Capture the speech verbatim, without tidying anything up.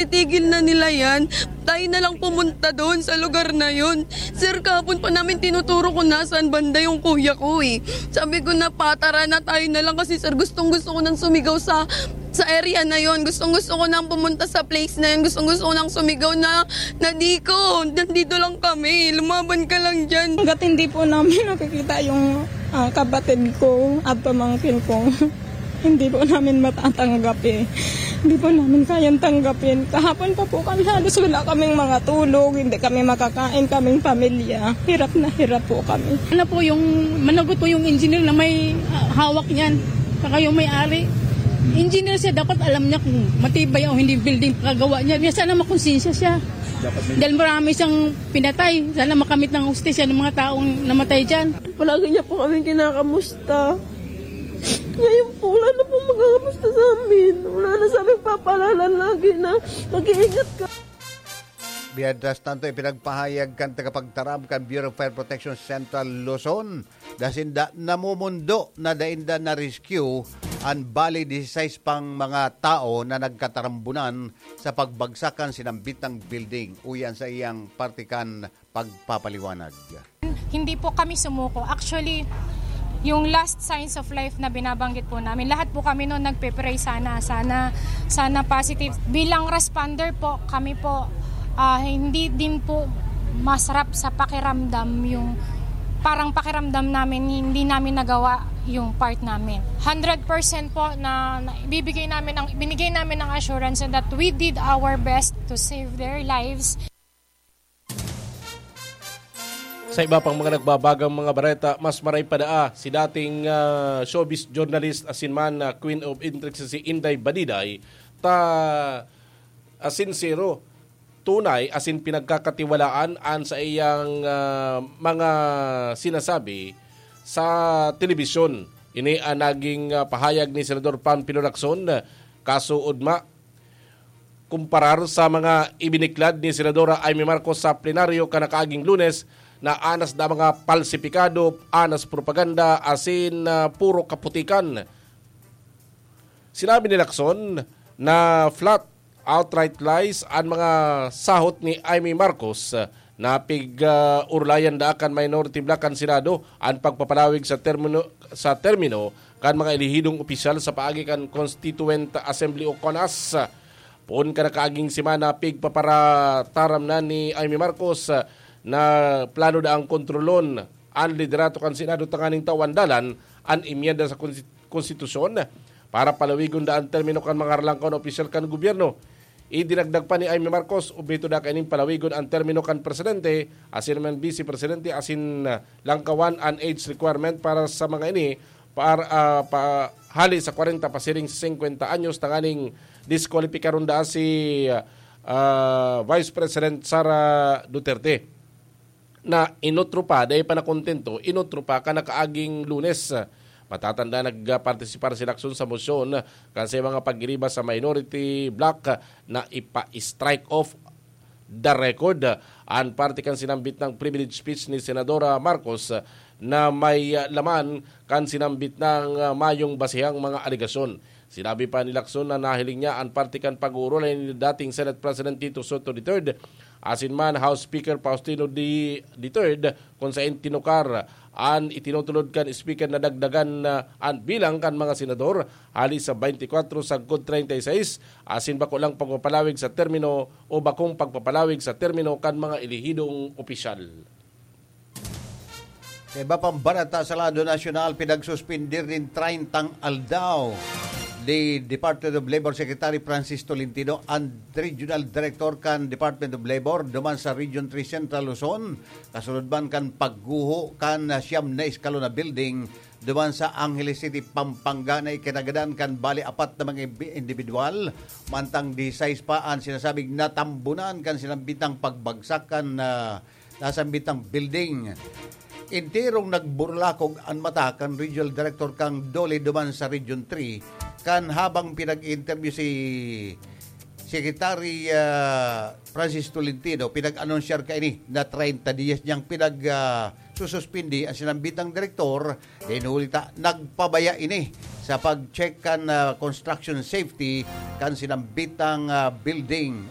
Titigil na nila yan. Tayo na lang pumunta doon sa lugar na yun. Sir, kahapon pa namin tinuturo kung nasaan banda yung kuya ko eh. Sabi ko na patara na tayo na lang kasi sir, gustong gusto ko nang sumigaw sa sa area na yon. Gustong gusto ko nang pumunta sa place na yun. Gustong gusto ko nang sumigaw na, "Nadiko, nandito lang kami. Lumaban ka lang dyan." Hanggat hindi po namin nakikita yung ah, kapatid ko at pamangkin ko, hindi po namin matatanggap eh. Hindi po namin kayang tanggapin. Kahapon pa po kami, halos wala kaming mga tulog, hindi kami makakain, kaming pamilya. Hirap na hirap po kami. Ano po yung, managot po yung engineer na may ah, hawak niyan. Saka yung may-ari. Engineer siya, dapat alam niya kung matibay o hindi building pagkagawa niya. Kaya sana makonsensya siya. Dapat may Dahil marami siyang pinatay. Sana makamit ng hustisya ng mga taong namatay dyan. Palagi niya po kami kinakamusta. Ngayon po, wala na po makakamusta sa amin. Wala na sa amin papalanan lagi na mag-iingat ka. Mientras tanto, ipinagpahayag kan tagapagtaram kan Bureau of Fire Protection Central Luzon, dasinda namumundo na dainda na-rescue an bali disisais pang mga tao na nagkatarambunan sa pagbagsak kan sinambit na building. Uyan sa iyang parte kan pagpapaliwanag. Hindi po kami sumuko. Actually, yung last signs of life na binabanggit po namin, lahat po kami noon nagpe-pray sana, sana, sana positive. Bilang responder po, kami po, ah, hindi din po masarap sa pakiramdam yung parang pakiramdam namin, hindi namin nagawa yung part namin. Hundred percent po na, na ibibigay namin ang, binigay namin ang assurance that we did our best to save their lives. Sa iba pang mga nagbabagang mga bareta, mas maray pa daa si dating ah, showbiz journalist asin man na Queen of Intricacy Inday Badiday, ta ah, sinsero, tunay asin pinagkakatiwalaan an sa iyang ah, mga sinasabi sa telebisyon. Ini ang naging ah, pahayag ni Senador Panfilo Lacson, kasuodma kumparar sa mga ibiniklad ni Senadora Imee Marcos sa plenaryo kan nakaaging Lunes na anas da mga palsipikado, anas propaganda asin ah, puro kaputikan. Sinabi ni Lacson na flat, outright lies an mga sahot ni Imee Marcos na pig-urulayan da kan minority bloc kan Senado an pagpapalawig sa termino, sa termino kan mga elehidong opisyal sa paagi kan Constituent Assembly o CONAS. Poon kan nakaaging semana, pigpaparataram na ni Imee Marcos na plano daang kontrolon an liderato kan Senado tanganing tawan dalan an emyenda sa konsti-, konstitusyon para palawigon da an termino kan mga harlangkaw na opisyal kan gobyerno. Idinagdag pa ni Imee Marcos, obheto da kaining palawigon an termino kan presidente, asin man bise presidente, asin ah, langkawan an age requirement para sa mga ini para ah, pa, hali sa kwarenta pasiring sa singkwenta anyos tanganing diskwalipikaron da si ah, Vice President Sara Duterte. Na inutro pa, dai pa nakontento, inutro pa kan nakaaging Lunes. Matatanda, nagpartisipar si Lacson sa mosyon kan sa mga pagiriba sa minority bloc na ipa-strike off the record an parte kan sinambit na privilege speech ni Senadora Marcos na may laman kan sinambit na mayong basehang mga alegasyon. Sinabi pa ni Lacson na nahiling niya an parte kan pag-uurulay ni dating Senate President Tito Sotto the third asin man House Speaker Faustino the, the third, kung saen tinukar an itinutulod kan Speaker na dagdagan na an bilang kan mga senador hali sa twenty-four sagkod treinta y seis, asin bako lang pagpapalawig sa termino o bakong pagpapalawig sa termino kan mga elehidong opisyal. Sa iba pang bareta sa lado nasyonal, pinagsuspindir nin treyntang aldaw ni Department of Labor Secretary Francis Tolentino an Regional Director kan Department of Labor duman sa Region three Central Luzon, kasunod man kan pagguho kan siyam na eskalon na building duman sa Angeles City, Pampanga, na ikinagadan kan bali apat na mga ibi-, individual, mantang disisais pa an sinasabing natambunan kan sinambitang pagbagsak kan ah, nasambitang building. Enterong nagburlakog an mata kan Regional Director kan DOLE duman sa Region three, kan habang pinag-interview si Secretary ah, Francis Tolentino, pinag-anunsyar kaini na treinta diyas niyang pinag ah, sususpindi an sinambitang direktor, dahil huli ta nagpabaya ini sa pag-check kan ah, construction safety kan sinambitang ah, building.